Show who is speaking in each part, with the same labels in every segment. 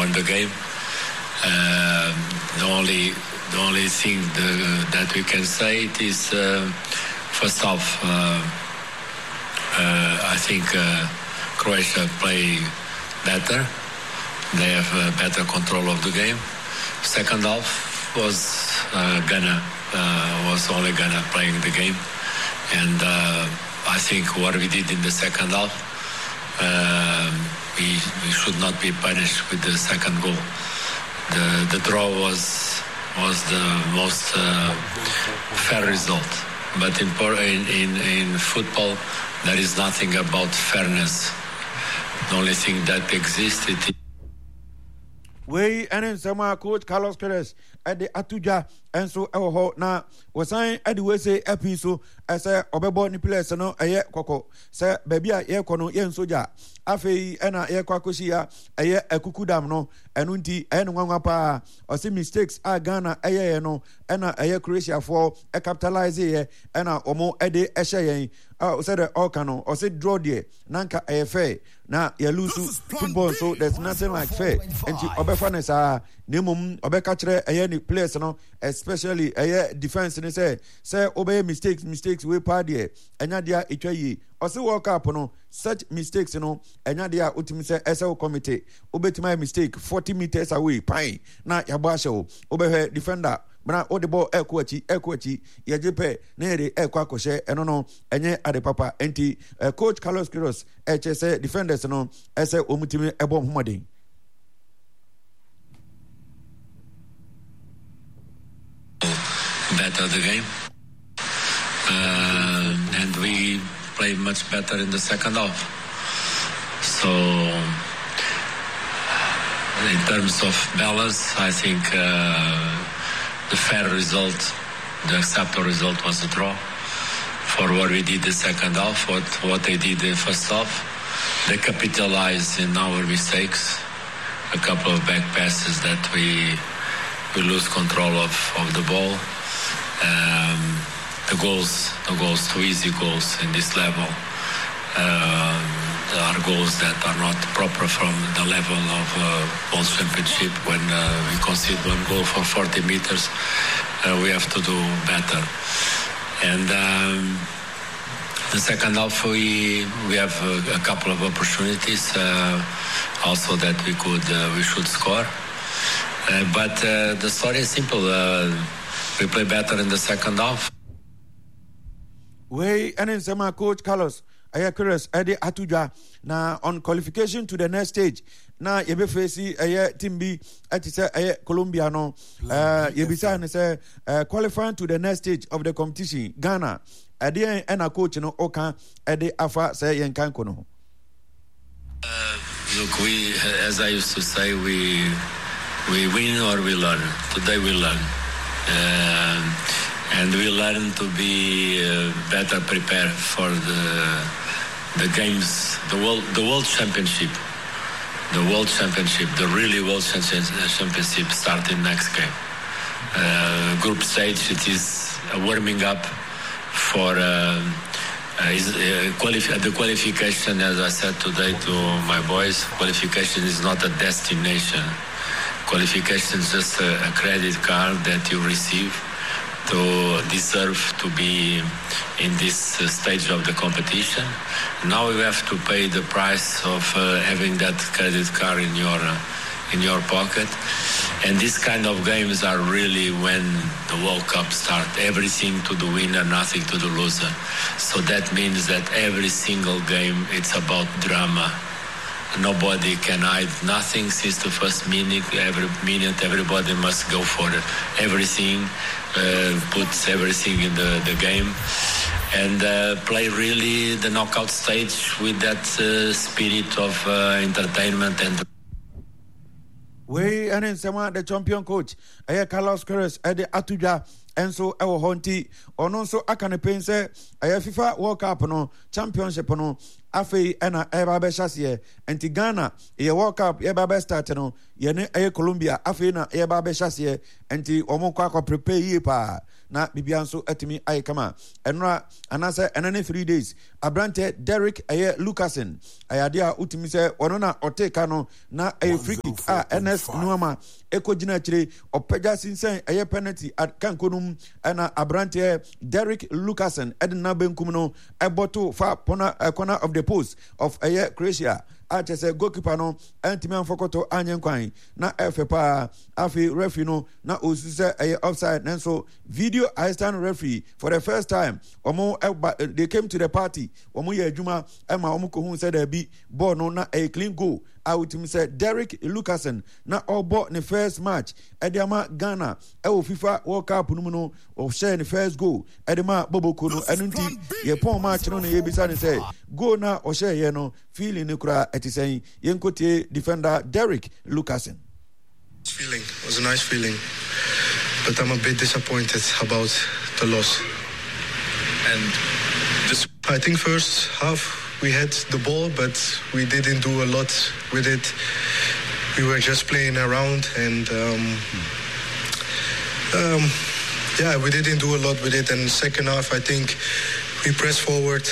Speaker 1: won the game. The only the only thing the, that we can say it is first half. I think Croatia play better. They have better control of the game. Second half was Ghana was only Ghana playing the game, and I think what we did in the second half, we, we should not be punished with the second goal. The the draw was was the most fair result. But in, in, in, in football, there is nothing about fairness. The only thing that exists it
Speaker 2: wei ɛne nsɛm a coach carlos queiroz ɛde ato dwa nso ɛwɔ hɔ na wɔsan ɛde wei se ɛpii so ɛsɛ ɔbɛbɔ ne players no ɛyɛ kɔkɔ sɛ baabi a yɛrekɔ no yɛn sogya afei ɛna yɛrekɔ akɔsi ya ɛyɛ akuku dam no ɛno nti ɛyɛ no nwanwa paa ɔse mistakes a ghana ɛyɛyɛ no ɛna ɛyɛ croatiafoɔ ɛcapitalise yɛ ɛna wɔn ɛde ɛhyɛ yɛn sɛdeɛ ɔreka no ɔse draw deɛ na nka ɛyɛ fair na yɛlusu football nso there's nothing like fair nti ɔbɛfa no saa na mmom ɔbɛka kyerɛ ɛyɛ ne players no especially ɛyɛ defense no sɛ sɛ wobɛyɛ mistakes mistakes wei paa deɛ ɛnya deɛ a ɛtwa yie ɔse world cup no such mistakes no ɛnya deɛ a wotumi sɛ ɛsɛ wo committee wobɛtumi ayɛ mistake 40 meters away pan na yɛabɔ ahyɛ wo wobɛhwɛ defender na wode bɔɔl ɛkɔ akyi ɛkɔ akyi yɛgye pɛ na yɛde ɛkɔ akɔhyɛ ɛno no ɛnyɛ ade papa nti eh, coach Carlos Queiroz ɛkyɛ sɛ defenders no ɛsɛ wɔn tumi ɛbɔ wɔn mmɔden.
Speaker 1: Better the game, uh, and we played much better in the second half. So, in terms of balance, I think uh, the fair result, the acceptable result was a draw. For what we did the second half, what, what they did the first half, they capitalized in our mistakes, a couple of back passes that we we lose control of, of the ball. Um, the goals, the goals, too easy goals in this level. Uh, are goals that are not proper from the level of uh, World Championship. When uh, we concede one goal for 40 meters, uh, we have to do better. And um, the second half, we we have a, a couple of opportunities uh, also that we could uh, we should score. Uh, but the story is simple. we play better in the second half.
Speaker 2: Wei ɛne nsɛm a coach Carlos ɛyɛ Queiroz ɛde ato dwa na on qualification to the next stage na yɛbɛfɛsi ɛyɛ team bi ɛte sɛ ɛyɛ Colombia no ɛɛ yɛbisa no sɛ ɛɛ qualifying to the next stage of the competition Ghana ɛdeɛn ɛna coach no ɔka ɛde afa sɛ yɛn kan ko no ho.
Speaker 1: Uh, look, we, as I used to say, we we win or we learn. Today we learn, uh, and we learn to be uh, better prepared for the the games, the world, the world championship, the world championship, the really world championship starting next game. Uh, group stage, it is a warming up for. Is, qualif- the qualification, as I said today to my boys, qualification is not a destination. Qualification is just a, a credit card that you receive to deserve to be in this stage of the competition. Now you have to pay the price of uh, having that credit card in your uh, in your pocket. And these kind of games are really when the World Cup starts. Everything to the winner, nothing to the loser. So that means that every single game it's about drama. Nobody can hide nothing since the first minute. Every minute, everybody must go for everything, uh, puts everything in the, the game, and uh, play really the knockout stage with that uh, spirit of entertainment and.
Speaker 2: Wei ne nsɛm a the champion coach ɛyɛ Carlos Queiroz ɛde ato dwa nso ɛwɔ hɔ nti ɔno nso aka ne pɛn sɛ ɛyɛ FIFA World Cup no championship no afei ɛna ɛba abɛhyɛ aseɛ nti Ghana yɛ World Cup yɛba abɛ start no. yɛne ɛyɛ Colombia afei na yɛba abɛhyɛ aseɛ nti wɔn kɔ akɔ prepare yie paa na biribiara nso atumi ayɛ kama. Ɛnora anaasɛ ɛnɛ ne 3 days aberantɛ Derek ɛyɛ Lucasen ɛyɛ adeɛ a wotumi sɛ ɔno na ɔte ka no na ɛyɛ free kick a Ernest Nuama ɛkɔgyina akyire ɔpagya sinsɛn ɛyɛ penalty kanko no mu ɛna aberanteɛ Derek Lucasen ɛde na benkum no ɛbɔ to fa corner, corner of the post of ɛyɛ Croatia a kyerɛ sɛ goalkeeper no ɛntumi amfɔkɔtɔ anyɛ nkwan na ɛfɛ paa. Afei referee no na ɔsu sɛ ɛyɛ offside, nanso video assistant referee for the first time wɔn ɛba, they came to the party, wɔn yɛ adwuma ɛma wɔn kɔhu sɛ daabi, bɔɔl no na ɛyɛ clean goal a wotumi sɛ Derek Lucasen na ɔrebɔ ne first match ɛde ama Ghana ɛwɔ FIFA World Cup no mu no, ɔhyɛɛ ne first goal ɛde ma Boboko no. Ɛno nti yɛpɔn match no na yɛbisa ne sɛ goal na ɔhyɛeɛ no, feeling no koraa ɛte sɛn? Yɛnkɔtie defender Derek Lucasen.
Speaker 3: Feeling it was a nice feeling, but I'm a bit disappointed about the loss.
Speaker 4: And this,
Speaker 3: I think first half we had the ball, but we didn't do a lot with it. We were just playing around and yeah, we didn't do a lot with it. And second half, I think we pressed forward.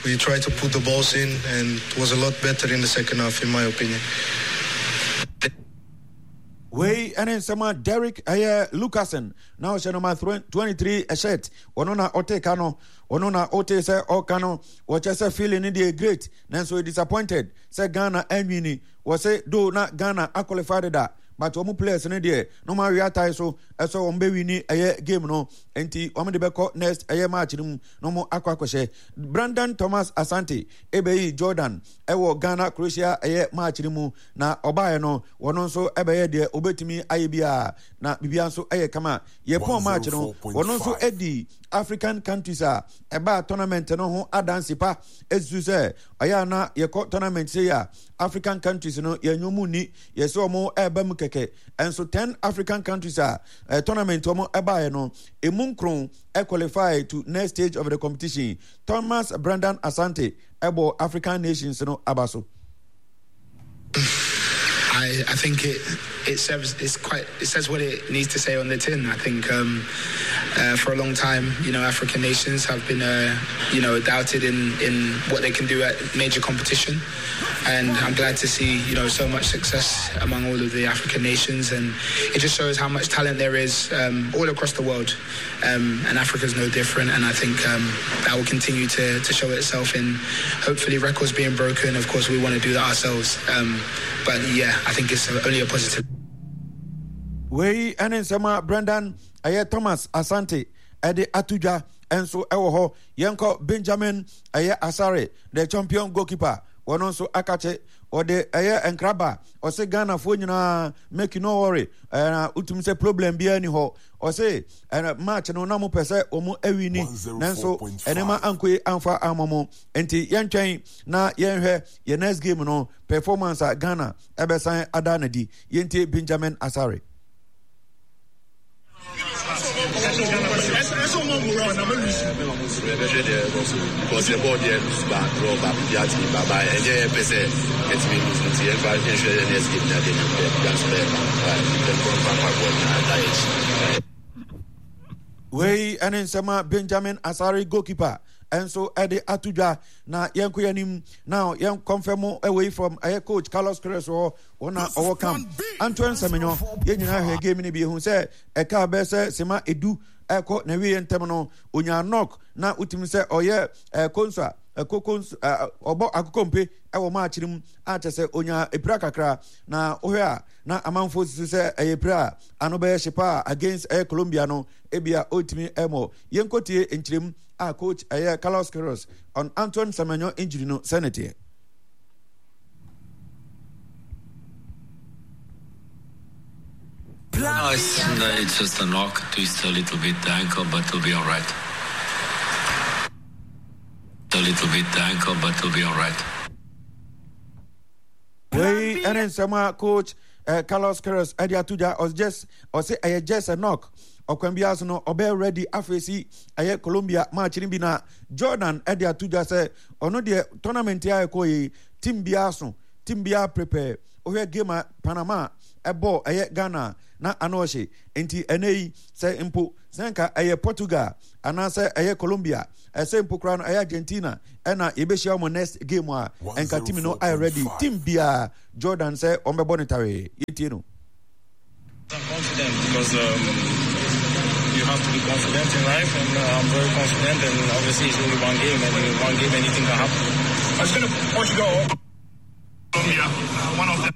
Speaker 3: We tried to put the balls in, and it was a lot better in the second half, in my opinion.
Speaker 2: Wei ɛne nsɛm a Derek ɛyɛ Lucasen na ɔhyɛ number 23 shirt, ɔno na ɔte ka no, ɔno na ɔte sɛ ɔka no, wɔkyɛ sɛ feeling no deɛ great, nanso disappointed sɛ Ghana anwini. Wɔsɛ do na Ghana aqualify deda, but wɔn players no deɛ na wɔn awe atae so ɛsɛ wɔn bɛwini ɛyɛ game no, nti wɔn de bɛkɔ next ɛyɛ match no mu na wɔn akɔ akɔhyɛ. Brandon Thomas Asante ɛbɛyi Jordan ɛwɔ Ghana Croatia ɛyɛ match no mu na ɔbaeɛ no, wɔn nso ɛbɛyɛ deɛ obɛtumi ayɛ biara na biribiara nso ɛyɛ kama. Yɛpɔn match no, wɔn nso ɛdi African countries a ɛbaa tournament no ho adanse pa esusu sɛ ɔyɛ ana yɛkɔ tournament sɛ yɛ a African countries no yɛnyɛ mu ni, yɛsɛ wɔn ɛreba mu kɛkɛ. Ɛnso 10 African countries a tournament wɔn ɛbaeɛ no, emu nkron qualify to next stage of the competition. Thomas Brandon Asante ɛbɔ African nations no aba so.
Speaker 5: I think it serves it's quite it says what it needs to say on the tin. I think for a long time, African nations have been doubted in what they can do at major competition, and I'm glad to see so much success among all of the African nations, and it just shows how much talent there is all across the world, and Africa's no different. And I think that will continue to show itself in hopefully records being broken. Of course, we want to do that ourselves. But yeah, I think it's only a positive.
Speaker 2: Wei ɛne nsɛm a Brendan ɛyɛ Thomas Asante ɛde ato dwa nso ɛwɔ hɔ. Yɛnkɔ Benjamin ɛyɛ Asare, the champion goalkeeper, wɔn nso akakye ɔde ɛyɛ nkraba, ɔse Ghanafoɔ nyinaa make no worry, ɛna wotumi sɛ problem biara ni hɔ. Ɔse ɛna match no na mo pɛ sɛ wɔn awini, nanso ɛnɛma ankoye amfa ama mo, nti yɛntwɛn na yɛnhwɛ yɛ next game no performance a Ghana ɛbɛsan ada n'adi. Yɛntie Benjamin Asare.
Speaker 4: Yɛbɛhwɛ deɛ ɛkɔ so because yɛbɔɔ deɛ lose ba draw ba biribi atumi ba ba ɛnyɛ yɛpɛ sɛ yɛtumi lose, nti yɛmfa yɛnhwɛ yɛ next game ne adeɛ nyɛ biribi nso bɛyɛ ba yɛnkɔ mfa mpaboa nyinaa da yɛkyi.
Speaker 2: Wei ɛne nsɛm a Benjamin Asare, goalkeeper, ɛnso ɛde ato dwa. Na yɛnkɔ yɛn anim na yɛn kɔnfɛ mu away from ɛyɛ coach Carlos Queiroz hɔ, wɔn na ɔwɔ camp. Antoine Semenyo, yɛn nyinaa hwɛ game no bi ehu sɛ ɛka bɛyɛ sɛ sema 10 ɛkɔ na wie ntɛm no onyaa knock na wotumi sɛ ɔyɛ ɛkonso a ɛkoko ɔbɔ akokompe ɛwɔ match no mu a kyɛ sɛ onyaa epira kakra. Na wohwɛ a na amanfoɔ susu sɛ ɛyɛ pira a ano bɛyɛ hye paa against ɛyɛ Colombia no, ebia ɔtumi ɛmɔ. Yɛnkɔtie nkyerɛmu a coach ɛyɛ Carlos Queiroz on Antoine Semenyo injury no sɛ ne teɛ.
Speaker 1: No, it's just a knock, twist a little bit the ankle, but it'll be all right. A little bit the ankle, but it'll be all right.
Speaker 2: Wei ɛne nsɛm a coach Carlos Queiroz ɛde ato dwa. Ɔs ɔsɛ ɛyɛ just a knock, ɔkwan biara so no ɔbɛyɛ ready afei ɛyɛ Colombia match no bi. Na Jordan ɛde ato dwa sɛ ɔno deɛ tournament a ɛkɔ yi, team biara so team biara prepare. Wohwɛ game a Panama ɛbɔɔ ɛyɛ Ghana na ano ɔhye. Nti ɛnɛ yi sɛ mpo sɛ nka ɛyɛ Portugal anaasɛ ɛyɛ Colombia ɛsɛ mpo koraa no ɛyɛ Argentina ɛna yɛbɛhyia wɔn next game a ɛnka team no ayɛ ready. Team biara Jordan sɛ wɔn bɛbɔ no tawee. Yɛntie no.
Speaker 6: I'm confident because um, you have to be confident in life, and uh, I'm very confident. And obviously, it's only one game, and in one game, anything can happen.
Speaker 7: I was going to Portugal, Colombia, one of them.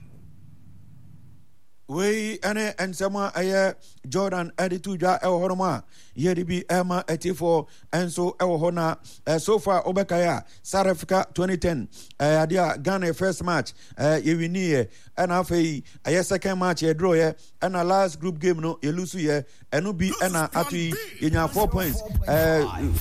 Speaker 2: Wei ne nsɛm a ɛyɛ Jordan de to dwa wɔ hɔnom a yɛde bi ɛma atiefoɔ nso wɔ hɔ na so far wobɛkae a South Africa 2010 ɛyɛ adeɛ a Ghana first match yɛwiniiɛ ɛna afei ɛyɛ second match yɛdurɔyɛ ɛna last group game no yɛlusu yɛ ɛno bi ɛna ato yi yɛnya 4 points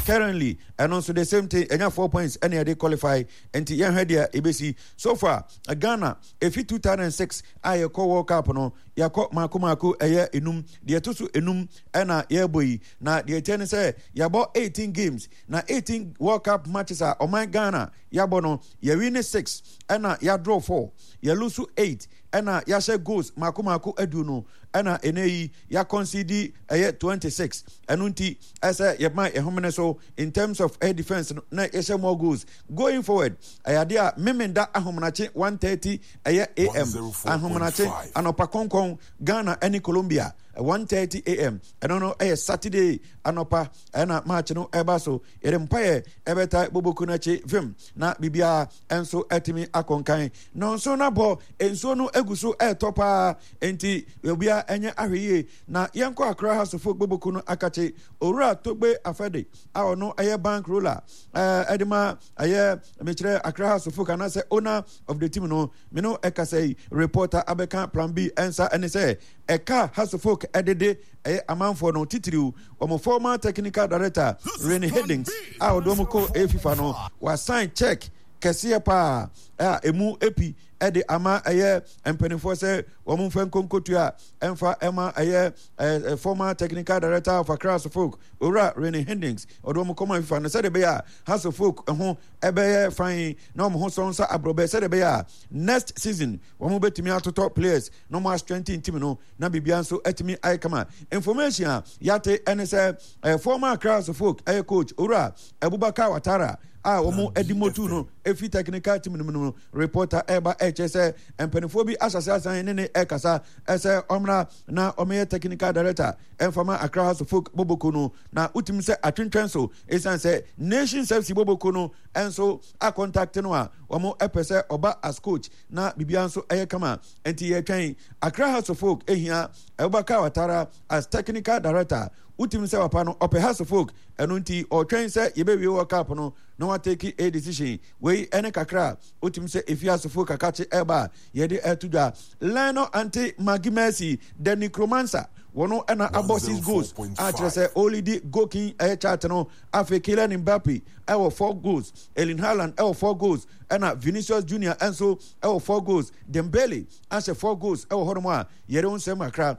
Speaker 2: currently ɛno nso the same thing ɛnya 4 points ɛna yɛde qualify nti yɛnhwɛ deɛ ɛbɛsi so far Ghana Efi 2006 a yɛkɔ World Cup no, yɛakɔ mako mako ɛyɛ enum. Deɛ ɛto so enum ɛna yɛrebɔ yi. Na deɛ ɛteɛ ne sɛ yɛabɔ 18 games. Na 18 World Cup matches a ɔman Ghana yɛabɔ no, yɛwi ne 6 ɛna yɛadraw 4, yɛlusu 8 ɛna yɛahyɛ goals mako mako aduonu ɛna ɛnɛ yi yɛakɔnsidi ɛyɛ 26. Ɛno nti ɛsɛ yɛma yɛhomene so in terms of air defense no na yɛhyɛ more goals. Going forward, ɛyɛ adeɛ a Memenda ahomenakye 1:30 ɛyɛ AM, ahomenakye anɔpa kɔnkɔn Ghana ɛne Colombia 1:30 AM, ɛno no ɛyɛ Saturday anɔpa ɛna match no ɛba so. Yɛde mpaeɛ ɛbɛta boboku no akyi vim na biribiara ɛnso ɛtumi akɔnkan. Nɔnso no abɔ, nsuo no egu so ɛretɔ paa, enti obiara ɛnyɛ ahwɛyie na yɛnkɔ Accra House of Folk boboku no akakye. Owura Togbe Afɛde a ɔno ɛyɛ bank roller ɛde ma ɛyɛ mekyerɛ Accra House of Folk anaasɛ owner of the team no me no ɛkasa yi reporter abɛka plan B ɛnsa ɛne sɛ ɛka House of Folk ɛdede ɛyɛ amanfoɔ no titiriw wɔn former technical director Rene Hiddink a ɔde wɔn kɔ ɛyɛ FIFA no wasan check kɛseɛ paa a emu epi ɛde ama ɛyɛ mpanimfoɔ sɛ wɔn mfa nkonkotua ɛmfa ɛma ɛyɛ former technical director of Accra House of Folk Owura Rene Hendings ɔde wɔn kɔma FIFA no sɛdeɛ ɛbɛyɛ a House of Folk ho ɛbɛyɛ fan na wɔn ho sɔn sɛ aborɔbɛ sɛdeɛ ɛbɛyɛ a next season wɔn bɛtumi atotɔ players na wɔn astrengthen team no na biribiara nso atumi ayɛ kama. Information a yɛate ɛne sɛ former Accra House of Folk ɛyɛ coach Owura Abubakar Watara a wɔn adi motu no efi technical team no mu no reporter ɛreba ɛkyerɛ sɛ mpanimfoɔ bi ahyɛse asan ne ne ɛkasa ɛsɛ ɔmmra na ɔmɛyɛ technical director ɛmfama Accra House of Folk boboko no na wotumi sɛ atwentwɛn so ɛsiane sɛ Nations FC boboko no ɛnso akɔntakte no a wɔn ɛpɛ sɛ ɔba as coach na biribiara nso ɛyɛ kama nti yɛtwɛn Accra House of Folk ehia Abubakar Watara as technical director wotumi sɛ papa no ɔpɛ House of Folk ɛno nti ɔtwɛn sɛ yɛbɛwie World Cup no na watake a decision. Wei ɛne kakra a wotumi sɛ efi asofo kakakye ɛba a yɛde ɛto dwa. Lionel Ante Maggie Mercy the Necromancer wɔn ɛna abɔ 6 goals a kyerɛ sɛ ɔlidi goal king ɛyɛ chart no. Afei Kylian Mbappe ɛwɔ 4 goals, Erling Haaland ɛwɔ 4 goals ɛna Vinicius Junior ɛnso ɛwɔ 4 goals. Dembele ahyɛ 4 goals ɛwɔ hɔnom a yɛde ho nsɛm kakra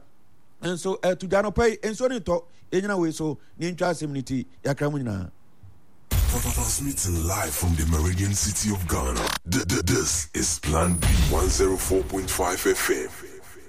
Speaker 2: nso ɛto dwa. Anɔpa yi nsuo no ntɔ, yɛnyina wei so na yɛntwa asɛm no ti yɛakra mu nyinaa.
Speaker 8: Transmitting live from the Meridian City of Ghana. This is Plan B 104.5 FM.